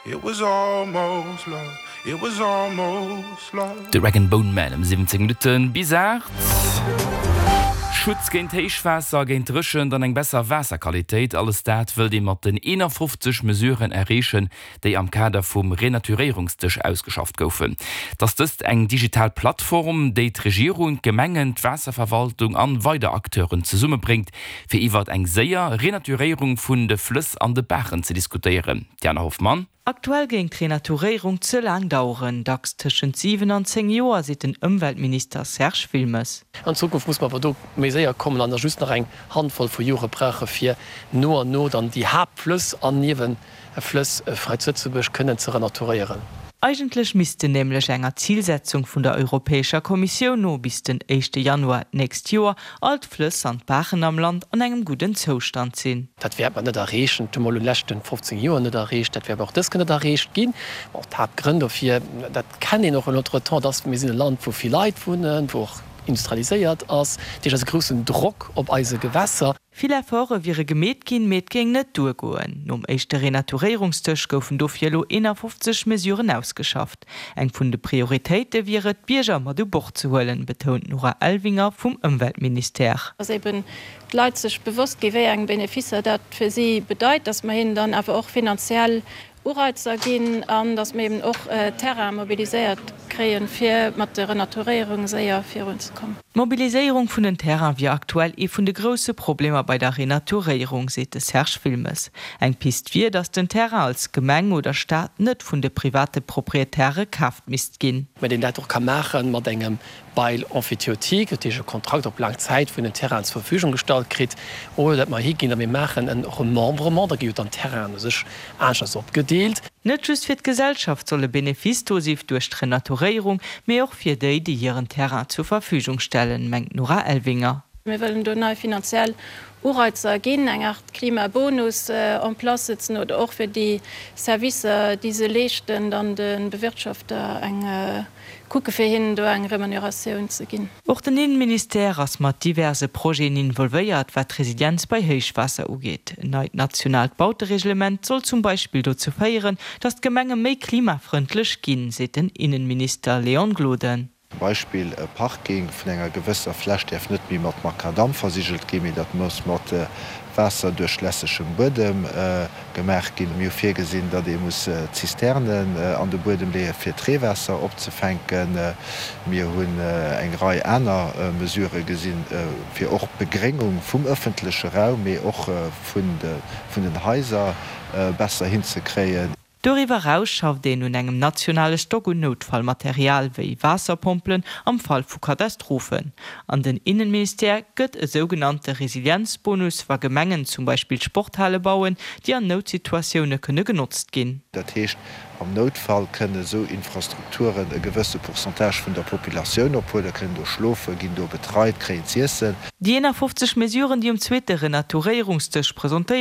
It was almost love, it was almost love. De Rag and Bone Man ëm 17 Minutten bis 8. Schutz géint Héichwaasser, géint Dréchent an eng besser Waasserqualitéit, alles dat wëllt ee mat den 51 Mesuren erreechen, déi am Kader vum Renaturéierungsdësch ausgeschafft goufen. Et ass dëst eng digital Plattform, déi d'Regierung, d'Gemengen, d'Waasserverwaltung an weider Acteuren zesummebréngt, fir iwwert eng séier Renaturéierung vun de Flëss an de Baachen ze diskutéieren. Diana Hoffmann. Aktuell géing d'Renaturéierung ze laang daueren, dacks tëschent 7 an 10 Joer, seet den Ëmweltminister Serge Wilmes. An Zukunft muss mer awer do méi séier kommen an da just nach eng Handvoll vu Jore brauche fir no an no dann déi Haaptflëss an Nieweflëss hei zu Lëtzebuerg kënnen ze renaturéieren. Eigentlech missten nämlech enger Zilsetzung vun der Europäescher Kommissioun no bis den éischte Januar d'nächst Joer all d'Flëss an d'Baachen am Land an engem gudden Zoustand sinn. Dat wäert mer net erreechen. Dat hu mer elo leschten 15 Joer net erreecht. Dat wäert och dës Kéier net erreecht ginn. Bon, d'Haaptgrënn dofir, dat kennt een och en entretemps, dass mir sinn e Land, wou vill Leit wunnen, wou och industrialiséiert ass. Dat heescht, et ass e groussen Drock op eise Gewässer. Vill Efforte wiere gemeet ginn, mee et géing net duergoen. Nom éischte Renaturéierungsdësch goufen dofir elo 51 Mesuren ausgeschafft. Eng vun de Prioritéite wier et, d'Bierger mat u Bord ze huelen, betount d'Nora Elvinger vum Ëmweltministère. Dass eben d'Leit sech bewosst gi wéi eng Beneficer dat fir si bedeit, dass mer hinnen dann awer och finanziell Ureizer ginn an dass mer eben och Terrain mobiliséiert kréien, fir mat de Renaturéierunge séier virunzekommen. D'Mobiliséierung vun den Terraine wier aktuell ee vun de grousse Problemer bei der Renaturéierung, seet de Serge Wilmes. Eng Pist wier, dass den Terrain als Gemeng oder Staat net vun de private Proprietäre kaaft misst ginn. Mä deen dat och ka maache mat engem Bail emphytéotique, dat heescht e Kontrakt op laang Zäit, wou en den Terrain zur Verfügung gestallt kritt, oder datt mer higinn a mir maachen e Remembrement, da gi jo dann d'Terrainen u sech aneschters opgedeelt. Net just fir d'Gesellschaft soll e Benefice do si duerch d'Renaturéierung, mee och fir déi, déi hiren Terrain zur Verfügung stellen, mengt d'Nora Elvinger. Mir wëllen do nei finanziell Ureizer ginn, eng Aart Klimabonus en place setzen oder och fir déi Servicer, déi se leeschten, dann de Bewirtschafter eng kucke fir hinnen do eng Remuneratioun ze ginn. Och den Innenministère ass mat diverse Projeten involvéiert, wat d'Resilienz bei Héichwaasser ugeet. En neit nationaalt Bautereglement soll zum Beispill dozou féieren, datt d'Gemenge méi klimafrëndlech ginn, seet den Innenminister Léon Gloden. Zum Beispill e Parking vun enger gewësser Fläch däerf net méi mat Makadamm versigelt ginn, mee dat muss mat waasserduerchlässegem Buedem gemaach ginn. Mir hu virgesinn, datt ee muss Zisternen an de Buedem leeë fir d'Reewaasser opzefänken. Mir hunn eng Rei aner Mesurë gesinn, fir och d'Begréngung vum ëffentleche Raum, mee och vun den Haiser besser hinzekréien. Doriwwer eraus schafft een un engem nationale Stock un Noutfallmaterial, wéi Waasserpompelen am Fall vu Katastrophen. An den Innenministère gëtt e sougenannte Resilienzbonus, wa Gemengen zum Beispill Sporthale bauen, déi an Noutsituatioune kënne genotzt ginn. Dat heescht, am Noutfall kënne esou Infrastrukturen e gewësse Pourcentage vun der Populatioun ophuelen, kënnen do schlofen, ginn do betreit, kréien z'iessen. Déi 51 Mesuren, déi um zweete Renaturéierungsdësch presentéiert.